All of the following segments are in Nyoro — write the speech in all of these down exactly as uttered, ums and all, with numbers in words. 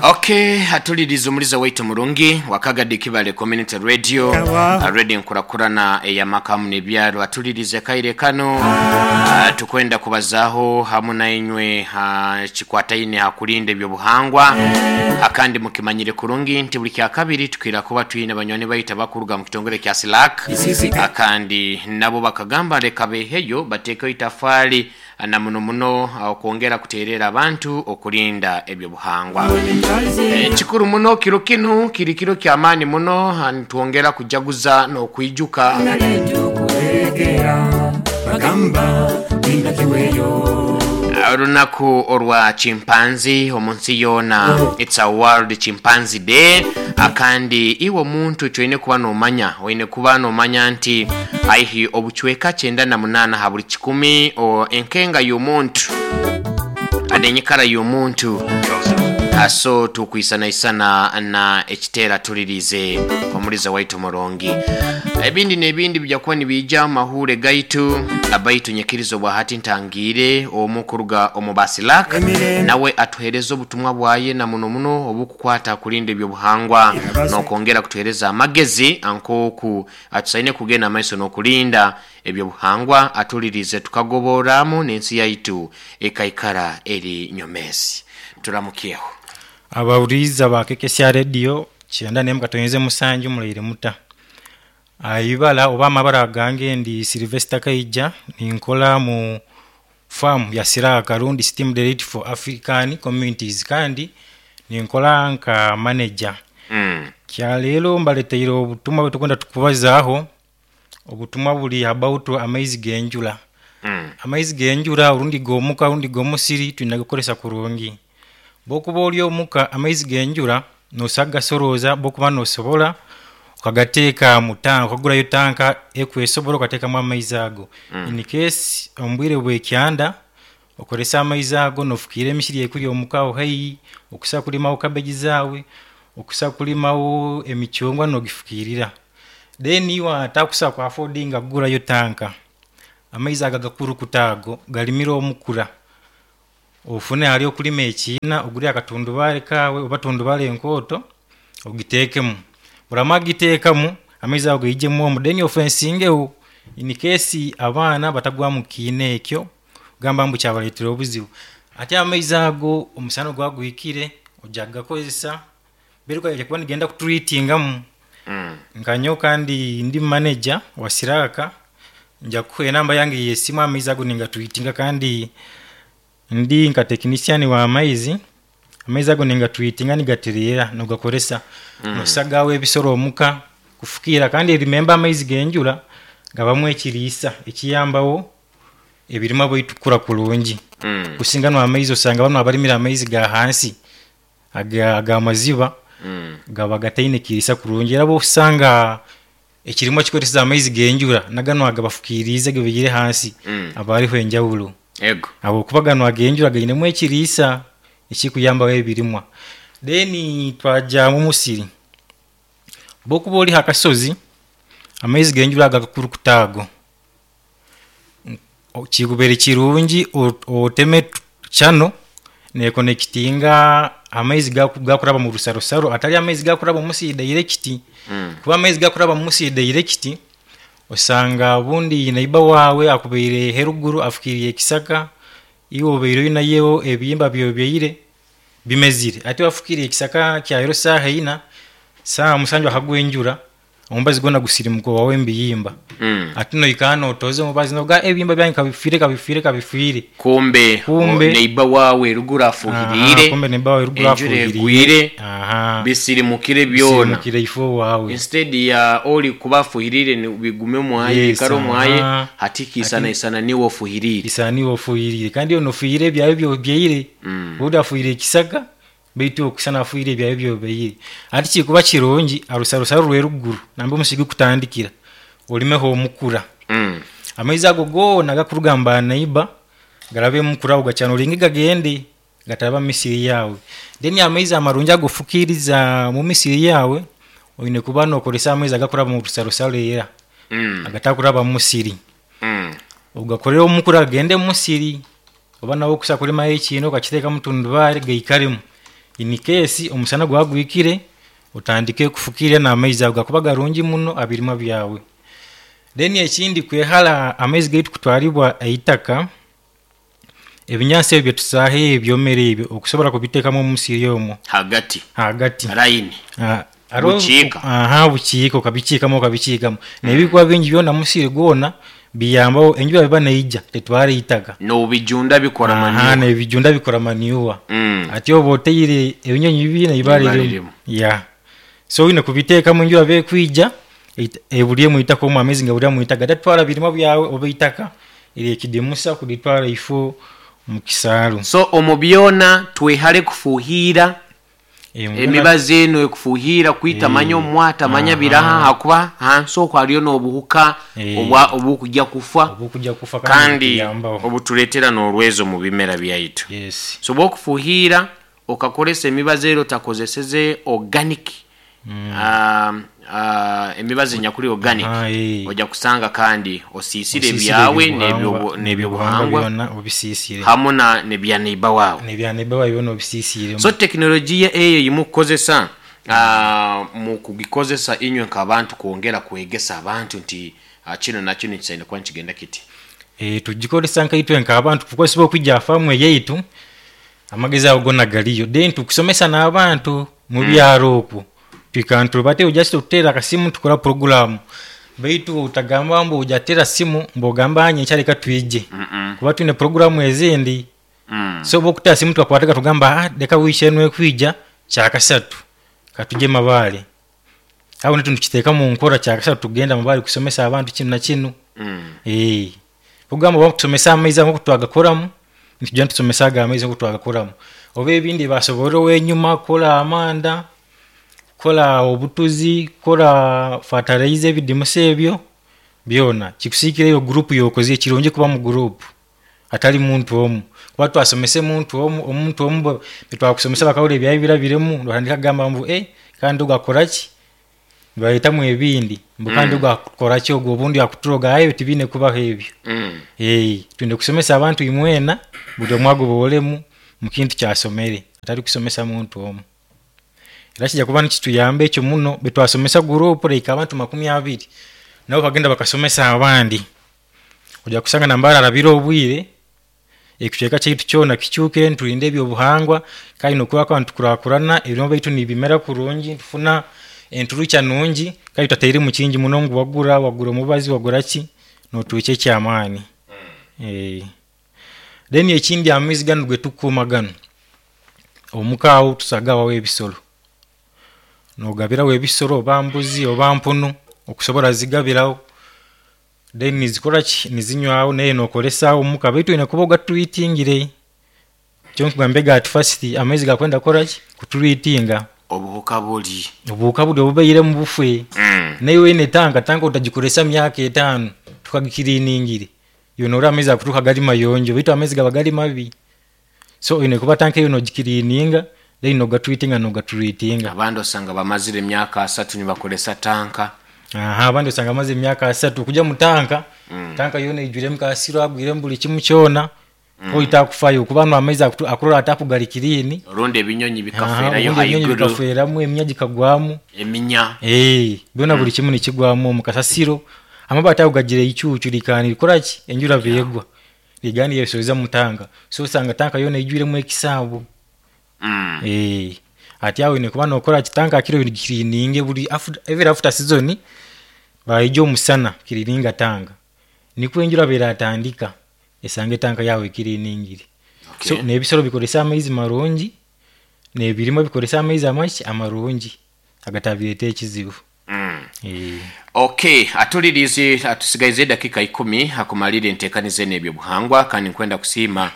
Okay, hatuliriza omuliza waitu murungi wakagadi Kibale Community Radio, radio nkurakurana eyamakamu n'ebyaro. Atulirize kaire kano, ah, tukwenda kubazaho hamu nainywe kikwataine hakulinda ebyobuhangwa. Akandi mukimanyire kurungi nti buli kya kabiri tukira kuba twine banywani baita bakuruga mu kitongole kya Silak, akandi nabo bakagamba leka beheyo batekeyo itafali na muno muno okwongera kuterera abantu okulinda ebyobuhangwa. E, kikuru muno kiro kinu kiri kiro kya maani muno, nitwongera kujaguza n'okwijuka olunaku olwa chimpanzee omunsi yona. It's a World Chimpanzee Day. Akandi iwe omuntu kyoine kuba nomanya, oine kuba nomanya nti aihi obuchweka kyenda na munana ha buli kikumi o enkenga y'omuntu adenyikara y'omuntu aso tukwisanaisana na ekitera tulirize omuliza waitu murongi. Ebindi n'ebindi bijja kuba nibijja mu mahure gaitu abaitu nyekirizo bwa hati ntangire omukuruga omu Basilak nawe atuhereza obutumwa bwaye na muno muno obukukwata kulinda ebyobuhangwa n'okwongera kutuhereza amagezi ankoku atusaine kugenda amaiso n'okulinda ebyobuhangwa, atulirize tukagoboramu n'ensi yaitu ekaikara eri nyomesi. Turamukiyeho abawuriza ba K K C Radio kyenda nemu katonyeze musanju muleire muta aibala oba amabara gange ndi Sylvester Kaija, ninkola mu farm ya Siraka rundi Steam Direct for African Communities, kandi ninkola nka manager. Mm. Kya lero mbaleteire obutumwa bwetukwenda tukubazaaho, obutumwa buli about amaizi g'enjura. Mm. Amaizi g'enjura orundi g'omuka orundi g'omusiri twina kukoresa kurungi. Bwokuba oli omuka amaizi g'enjura nosagasoroza, bwokuba nosobola okagateeka mu tanka, okagurayo tanka ekwesobola okateekamu amaizi ago. Mm. In case omu bwire bw'ekyanda okoresa amaizi ago nofukiira emisiri ekuri omuka aho haihi, okusa kulimawo cabbage zaawe, okusa kulimawo emicungwa nogifukiirira. Then iwe atakusa ku affordinga kugurayo tanka, amaizi ago agakurukuta ago galimire omukura, ofune hali okulima ekiina ogure akatundubare kaawe oba tundubare enkooto ogiteekemu. Oramara kugiteekamu amaizi ago gaijemu omu, then ofensingeho in case abaana batagwa mu kiina ekyo gamba mbu kyabareetera obuzibu. Ate amaizi ago omusana ogwa gwikire ojja kugakozesa beruka kuba nigenda kutreatingamu. Mm. Nka nyowe kandi ndi manager wa Siraka, nja kukuha enamba yange y'esimu amaizi ago ningatreatinga, kandi ndi nka technician wa maizi, amaizi ago ningatreatinga nigatereera nogakoresa. Mm. Nosagaho ebisoro omuka kufukiira, kandi remember amaizi g'enjura gabamu ekiriisa ekiyambawo ebirima bwaitu kukura kurungi. Mm. Kusinga no amaizi osanga banu abarimire amaizi ga hansi aga ag'amaziba Mm. gaba gataine kiriisa kurungi, era bw'osanga ekirimwa kikoresa amaizi g'enjura naganu agabafukiiriize gabaire hansi Mm. aba hariho enjawulo. Ego. Habwokuba ganu ag'enjura gainemu ekiriisa ekikuyambaho ebirimwa. Then twajja mu musiri, bw'okuba ori ha kasozi amaizi g'enjura ago agakurukuta ago kikubaire kirungi oteme channel nekonectinga amaizi gakuraba mu rusarosaro atari amaizi gakuraba omu musiri direct. Mm. Kuba amaizi gakuraba mu musiri direct osanga obundi neighbor waawe akubaire heruguru afukiiriye ekisaka, iwe obaire oinayo ebihimba byobyaire bimezire, ate wafukiiriye ekisaka kyahero saaha ina, saaha musanju akagwa enjura omubazi gwona gusirimuka owawe mubihimba. Mm. Ate noikara notoza omubazi noga ebihimba byange kabifiire kabifiire kabifiire. Kumbe, Kumbe neighbor wawe ruguru afuhiriire, kumbe neighbor wawe ruguru enjura afuhiriire, egwire, aha, bisirimukire byona. Bisirimukire ifo wawe. Instead ya oli kuba afuhiriire ni bigume mwaye, Yes, bikare omwaye, aha. hati kiisana isana niwe ofuhiriire. Isana niwe ofuhiriire, kandi onofuhiriire ebyawe byobyaire. Mm. Obundi afuhiriire ekisaka baitu okusana afuhiriire ebyawe byobyaire. Ati kikuba kirungi arusarusaro rweruguru nambe omusiri gukutandikira olimeho omukura. Mm. Amaizi ago goona gakuruga mu ba neighbor garabe emukura ago gacanoringe gagende gataraba mu misiri yaawe. Then amaizi amarungi agofukiiriza mu misiri yaawe oine kuba nokoresa amaizi agakuraba mu rusarosaro era Mm. agatakuraba mu musiri. Mm. Ogakorere omukura gagende mu musiri, oba nawe okusa kulimayo ekiina okakiteekamu tundubare gaikaremu. In case omusana gwagwikire, otandike kufukirra n'amaizi ago gakuba garungi muno abirimwa byawe. Then ekindi, kwehara amaizi gaitu kutwaribwa eitaka, ebinyansi ebyo byetusaaha ebyomere ebyo okusobola kubiteekamu omusiri omwo hagati, hagati line. Ah, hariho- Bukiika. Aha, bukiika, okabikiikamu okabikiikamu nebikuba bingi byona musiri gwona, biyambaho enjura biba neija tetwara eitaka. Nobijunda bikora Aha, manure. Nebijunda bikora manure. Mm. Ati oba oteire ebinyonyi bibiri neibara Ibara lirimu. lirimu. Ya, so oyine kubiteekamu enjura bekwija eit- eburi mwitaka omwo, amaizi nga mwitaka gatatwara birimwa byawe oba eitaka eryekidimusa kulitwara ifo mu kisaaru. So omu byona twehale kufuhira Eh, mu byona- emibazi eno ekufuhira kwita manya omwata manya biraha, hakuba hansi okwo hariyo n'obuhuka Eh. obwa obukujja kufa obukujja kufa kandi buyambaho. Obutuleetera n'olwezo mu bimera byaitu. Yes. So bwokufuhira okakolesa emibazi ero otakozeseze organic, um, uh, emibazi enyakuli organic, Ah, eh. ojja kusanga kandi osiisire Osiisire ebyawe ebyobuhangwa- n'ebyobu- n'ebyobuhangwa n'ebyobuhangwa byona obisiisire hamu na nebyaneiba waawe. Nebyaneiba byona obisiisire. So tekinologiya eyo yimukukozesa, uh, mu kugikozesa inywe nk'abantu kwongera kwegesa abantu nti uh, kino nakino kisaine kuba nikigenda kiti. Eh, tugikozesa nkaitwe nk'abantu kukozesa okwijja afaamu eyaitu, amagezi ago gona galiyo, then tukusomesa n'abantu mu byaro okwo twika bate just okutera akasimu tukora programu, baitu utagamba mbu ojatera simu mbu ogamba nyenkya leka twije, kuba twine programu ezindi. Mm. So bwokutera simu tukakwataga tugamba, ah, leka wiiki enu ekwija kyakasatu katujye Mabaale, aho nitu tukiteeka mu nkora, kyakasatu tugenda Mabaale kusomesa abantu kinu na kinu. Mm. Eh, kugamba oba kusomesa amaizi ago twagakoramu, nitujya nitusomesa ago amaizi ngu twagakoramu, oba ebindi basobora owenyuma kukola amanda, kukola obutuzi, kukola fertilizer, ebidimusa ebyo byona kikusiikira eyo gurupu yokoze. Kirungi kuba mu gurupu atali muntu omu, kuba twasomese muntu omu, omuntu omu bwe- betwakusomesa bakahura ebyawe birabiremu, notandika kugamba mbu eh, kandi ogakoraki, nibaretamu ebindi mbu kandi ogakoraki, ogwo obundi akuturoga, aye tibine kubaho ebyo. Mm. Eh, twine kusomesa abantu imwena, buli omwe agobolemu mu kintu kyasomere, atali kusomesa muntu omu. Era kijja kuba nikituyamba ekyo muno betwasomesa gurupu like abantu makumi abiri, nabo bagenda bakasomesa abandi, ojja kusanga nambara arabire obwire ekicweka kyaitu kyona kikyukire, niturinda ebyobuhangwa kandi nokuba ntukurakurana, ebirimo baitu nibimera kurungi, ntufuna enturukya nungi kandi tutateiremu kingi muno ngu wagura wagura omubazi wagura ki, noturukya ekyamaani. Eh. Then ekindi, amaizi ganu getukuuma ganu omuka awo tusagawawo ebisolo, nogabirawo ebisolo oba mbuzi oba mpunu, okusobola zigabirawo, then nizikora ki, nizinywawo, naye nokolesawo omuka, baitu oyine kuba ogatreatingire. Kyo nkugambye at first, amaizi gakwenda kukora ki, kutreatinga. Obuhuka buli Obuhuka buli obubaire mu bufwe. Mm. Naye wene tanka tanka utagikoresa myaka etaano tukagikiriiningire, yona ori amaizi akuturuka gali mayonjo, baitu amaizi gaba gali mabi. So oyine kuba tanka eyo nogikiriininga, then nogatreatinga nogatreatinga. Abandi osanga bamazire emyaka asatu nibakolesa tanka. Aha, abandi osanga amaze emyaka asatu kuja mu tanka mm. Tanka yona ijwiremu kasiro, agwiremu buli kimu kyona mm. Oita akufayo kuba no amaizi akutu- akurora atapu gali clean. Orundi ebinyonyi Aha, bikafeerayo obundi ebinyonyi haiguru. Bikafeeramu, eminya gikagwamu. Eminya. Eh, byona buli kimu nikigwamu omu kasasiro, amabaati ago gagira eicuucu likani likoraki, enjura beegwa ligani yesoza mu tanka, so osanga tanka yona ijwiremu ekisaabu. Mm. Eh, ati awo oyine kuba nokora ki, tanka akiro gikirininge buli after, every after season baija omusana kirininga tanka, nikwo enjura beratandika esanga etanka yawe ekiriningire. Okay. So nebisolo bikoresa amaizi marungi, nebirimo bikoresa amaizi amaki amarungi agatabireeta ekizibu. Mm. Eh. Okay, atulirize, atusigaize edakika ikumi akumalire enteekaniza eno ebyobuhangwa, kandi nkwenda kusiima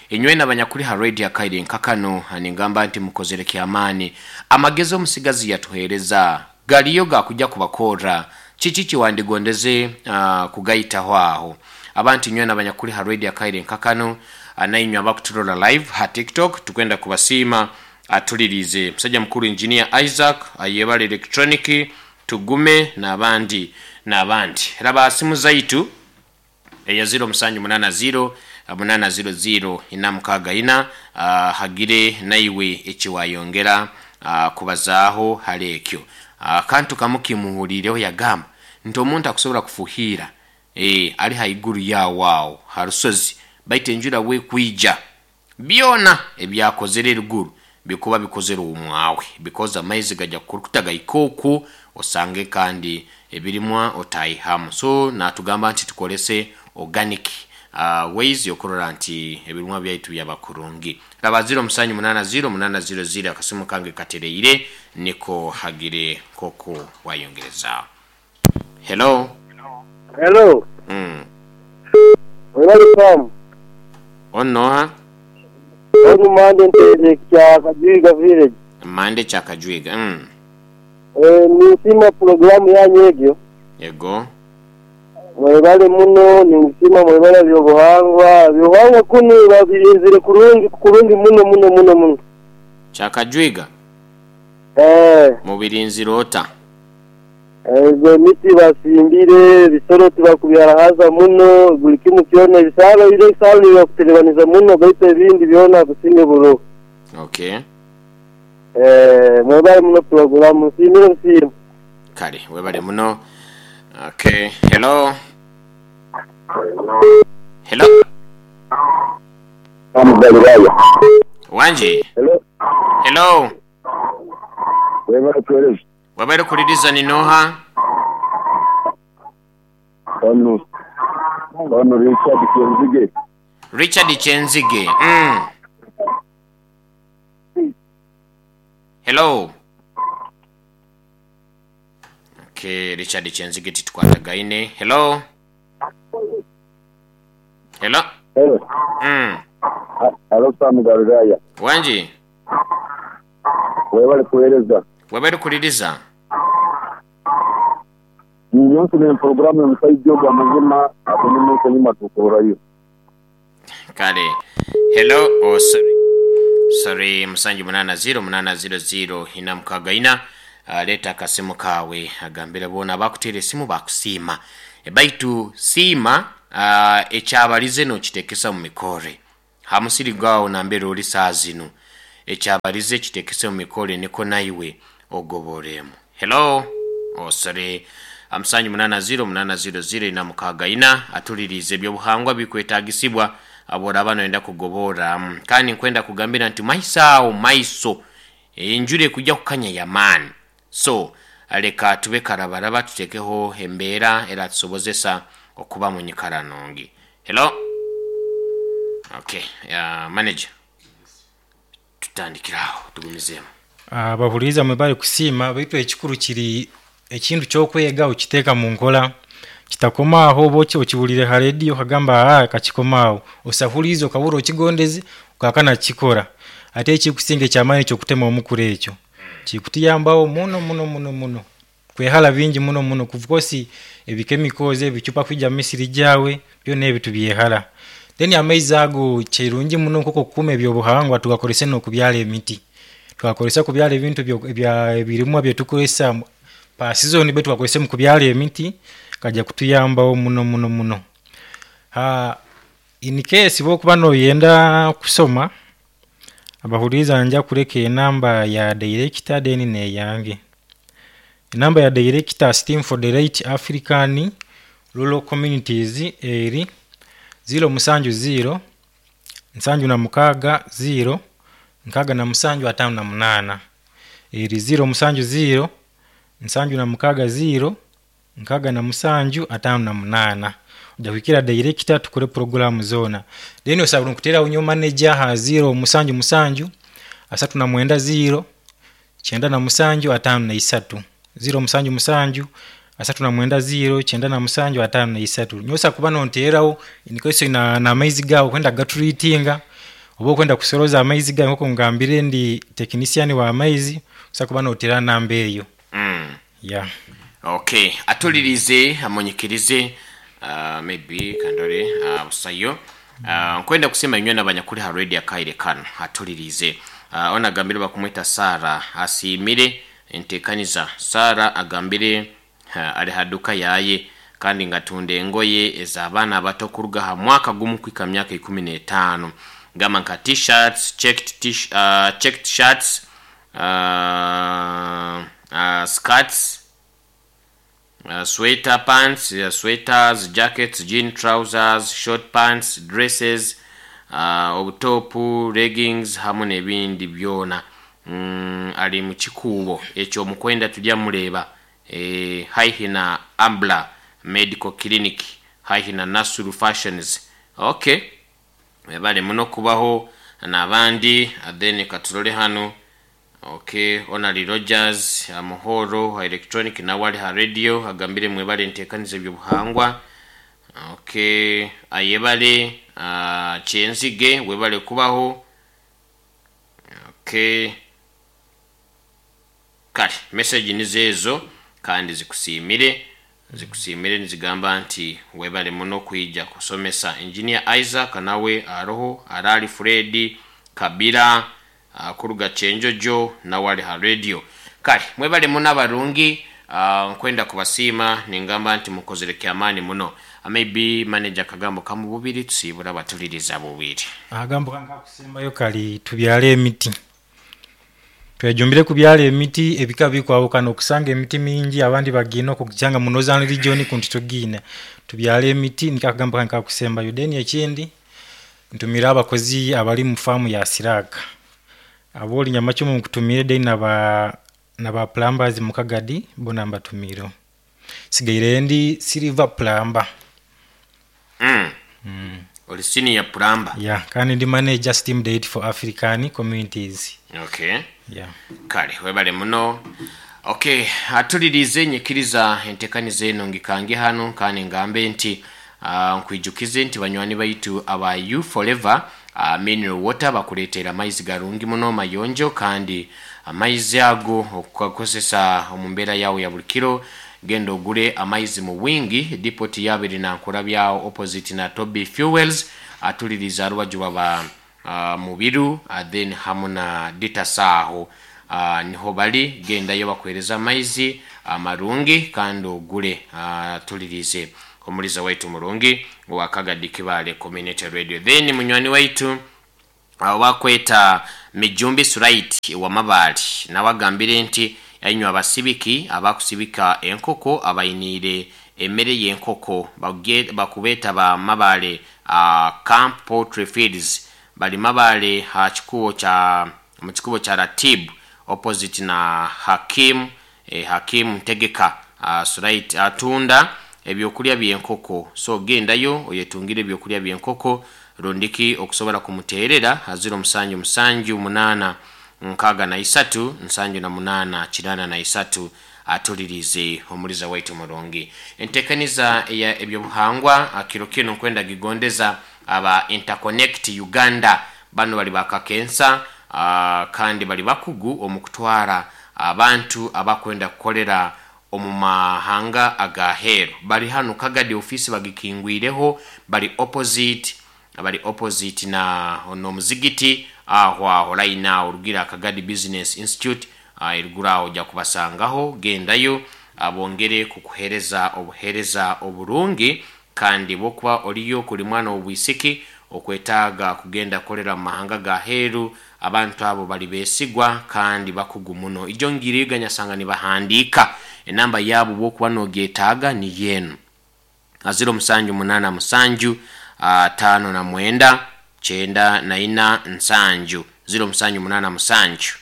inywena abanyakuli ha radio akaire nkakano, ningamba nti mukozere kyamaani. Amagezi omusigazi yatuheereza galiyo gakujja kubakorra kiki kiwandigondeze uh, kugayitaho aho abantu inywena abanyakuli ha radio akaire nkakano, ah, nainywe abakuturola live ha TikTok, tukwenda kubasiima. Atulirize musajja mukulu engineer Isaac ayebala electronic, tugume n'abandi n'abandi. Raba simu zaitu eya zero musanju munana zero munana zero zero ina mukaaga ina. uh, hagire naiwe ekiwayongera uh, kubazaaho hali ekyo. uh, kantu kamu kimuhulireho yagamba nti omuntu akusobola kufuhiira e, ali haiguru yawo awo harusozi, baitu enjura bwekwija byona ebyakozere eruguru bikuba bikozere omwawe, because amaizi gajya kukurukuta gaika oku osange kandi ebirimwa otaihamu. So natugamba nti tukolese organic uh, ways okurora nti ebirimwa byaitu byaba kurungi. Raba zero musanju munana zero munana zero zero, akasimu kange katereire niko hagire koko wayongereza. Hello. Hello. mm. Welcome. Onoha? Onu mande ntere kya Kajwiga village. Mande kya Kajwiga. mm. Eh, ninsima programu yanyu egyo. Yego. Mwebale muno, ninsima mwebale byobuhangwa. Byobuhangwa kunu babirinzire kurungi kurungi muno muno muno muno. Kya Kajwiga. Eh, mubirinzire ota? Ezo miti basimbire, ebisoro tibakubyarahaza muno, buli kimu kyona ebisalo bire ebisalo nibakuterebaniza muno, baitu ebindi byona kusinga buroho. Okay. Eh, mwebale muno programu, nsimire nsiima. Kale webale muno. Okay, hello. Hello. Galilaya. Wanje. Hello. Hello. Webale kuhereza. Webale kuliriza, ninoha? Ono ono Richard Kenzige. Richard Chenzige. mm. Hello. Okay, Richard Chenzige titukwatagaine. Hello. Hello. Hello. mm. Hello Sam Galilaya. Wanje. Webale kuhereza. Webale kuliriza. Nyonse ne programu omusajja ogwo amazima atenemu enyuma tukorayo. Kale. Hello. Oh, sorry, sorry. Musanju munana zero munana zero zero ina mukaga ina. uh, leta akasimu kawe agambire bona bakuteera esimu bakusiima. E, baitu siima uh, ekyabalize nokitekesa mu mikore hamusiri gwawo nambere oli saa zino, ekyabalize kitekese mu mikore niko naiwe ogoboremu. Hello. Oh, sorry. Musanju munana zero munana zero zero ina mukaga ina, atulirize ebyobuhangwa bikwetagisibwa aboraba noyenda kugobora. mm, kandi nkwenda kugambira nti maiso awo maiso enjura ekujja kukanya yamaani, so leka tube karabaraba tutekeho embeera era tusobozesa okuba mu nyikara nungi. Hello. Okay, uh, manager, tutandikiraho tugumizeemu. Abahuriza mwebale kusiima, baitu ekikuru kiri ekintu kyokwega okiteeka mu nkola, kitakomaaho oba oki okiwulire ha rediyo okagamba aa kakikomaaho, osahurize okabura okigondeze okakana kikora. Ate ekikusinga ekyamaani kyokutema omukura ekyo kikutuyambaho muno muno muno muno kwehala bingi muno muno kuvukosi ebikemikozi ebicupa kwija misiri gyawe byona ebi tubyehala. Then amaizi ago kirungi muno nk'oku okukuuma ebyobuhangwa, tugakorese n'okubyara emiti, tugakoresa kubyara ebintu ebya ebirimwa byetukozesa pa season, be tugakozese mu kubyara emiti kajja kutuyambaho muno muno muno. Ha, in case bwokuba noyenda kusoma, abahuriza nja kureka enamba ya director then neyange. Enamba ya director Steam for the Right African Rural Communities eri zero musanju zero nsanju na mukaaga zero nkaaga na musanju ataano na munaana, eri zero musanju zero nsanju na mukaaga zero nkaaga na musanju ataano na munaana. Ojja kuhikira director tukore programu zoona. Then osobola nkuteeraho nyowe manager ha zero musanju musanju asatu na mwenda zero kyenda na musanju ataano na isatu, zero musanju musanju asatu na mwenda zero kyenda na musanju ataano na isatu. Nyowe osobola kuba nonteeraho in na n'amaizi gaawe okwenda kugatreatinga oba okwenda kusoroza amaizi gawe, nkoku ngambire ndi technician wa maizi, osobola kuba noteera namba eyo. mm. Yeah. Okay, atulirize amunyikirize, uh, maybe kandore uh, busayo. uh, nkwenda kusema inywe nabanyakuri ha radio akaire kano atulirize. uh, ona agambire bakumwita Sara asiimire entekaniza. Sara agambire uh, ali haduka yaye kandi ngatunda engoye ez'abaana abato kuruga ha mwaka gumu kwika myaka ikumi n'etaano. Gamba nka t-shirts, checked, t- uh, checked shirts, uh, uh, skirts, uh, sweater pants, uh, sweaters, jackets, jean trousers, short pants, dresses, uh, obutopu, leggings hamu n'ebindi byona. Mm, ali mu kikuubo ekyo omukwenda tujja muleeba e, haihi na Ambla Medical Clinic, haihi na Nasuru Fashions. Okay, bali muno kubaho n'abandi. Then katurole hano. Okay, Onali Rogers Muhoro electronic nawe ali ha radio, agambire mwebale ntekaniza ebyobuhangwa. Okay, ayebale uh, Kyenzige, webale kubaho. Okay, kale message nizeezo kandi zikusiimire zikusiimire nizigamba nti webale muno kwija kusomesa. Engineer Isaac nawe aroho, Arali Fred Kabira uh, kuruga Kyenjojo nawe ali ha radio. Kale mwebale muno abarungi, uh, nkwenda kubasiima ningamba nti mukozere kyamaani muno. Maybe manager kagambo kamu bubiri tusiibura batuliriza bubiri. Akagambo kange kakusembayo kali tubyale emiti, twejumbire kubyala emiti ebika bikwawukana okusanga emiti mingi abandi bagina okujanga mu northern region kunti tugina tubyale emiti, niko akagambo kange kakusembayo. Then ekindi ntumire abakozi abali mu faamu ya Siraka abo Nyamachumu nkutumire, then naba naba plumbers mu Kagadi bona mbatumire, sigaire ndi silver plumber. Mm. Mm. Oli senior plumber? Yeah, kandi ndi manager Steam Date for African Communities. Okay. Yeah. Kale webale muno. Okay, atulirize nyikiriza entekaniza eno ngikange hano kandi ngambe nti uh, nkwijukize nti banywani baitu aba You Forever uh, mineral water bakuleetera amaizi garungi muno mayonjo, kandi amaizi ago okugakozesa omu mbeera yawe ya buli kiro. Genda ogule amaizi mu wingi depot yabiri na nkurabyawo opposite na Toby Fuels, atuliriza arubaju baba uh, Mubiru, uh, then hamu na Ditasaho, uh, niho bali. Gendayo bakuhereza amaizi amarungi kandi ogule. uh, tulirize omuliza waitu murungi wa Kagadi Kibale Community Radio. Then munywani waitu uh, wakweta Mijumbi Surait wa Mabali nawagambire nti ainywa abasibiki abakusibika enkoko abayiniire emmere y'enkoko bakubeta ba Mabale uh, Camp Poultry Fields, bali Mabale ha kikubo cha mu kikubo cha Ratib opposite na Hakim eh, Hakim Ntegeka. uh, Surait atunda ebyokulya by'enkoko, so gendayo oyetungire ebyokulya by'enkoko rondiki okusobola kumuteerera aziro musanju musanju munana nkaga na isatu nsanju na munana kinana na isatu. Atulirize omuliza waitu murungi. Entekaniza ya ebyobuhangwa akiro kino nkwenda gigondeza aba Interconnect Uganda, bano bali bakakensa uh, kandi bali bakugu omukutwara abantu abakwenda kukolera omu mahanga agaheru. Bali hano Kagadi ofisi bagikingwireho, bali opposite bali opposite na ono muzigiti aho aho line orugira Kagadi Business Institute uh, irugura ojja kubasangaho. Gendayo abongere kukuhereza obuhereza oburungi, kandi bokuba oliyo kuli mwana obwisiki okwetaaga kugenda kolera mu mahanga ga heru, abantu abo bali besigwa kandi bakugu muno. Ijo ngiriga nyasanga nibahandika enamba yabo bokuba nogyetaaga ni yenu aziro musanju munana musanju uh, tano na mwenda chenda na ina nsanju ziro musanju munana musanju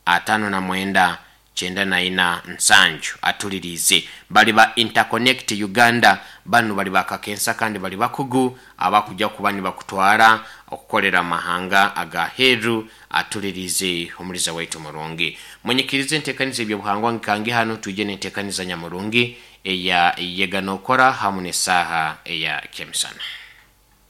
atano na mwenda chenda na ina nsanju. Atulirize bali ba Interconnect Uganda, bano bali bakakensa kandi bali bakugu abakujja kuba nibakutwara okukolera mahanga agaheru. Atulirize omuliza waitu murungi. Mwenyikirize entekaniza ebyobuhangwa nkange hano tuje n'entekaniza nyamurungi eya yeganokora hamu n'esaaha eya kemisana.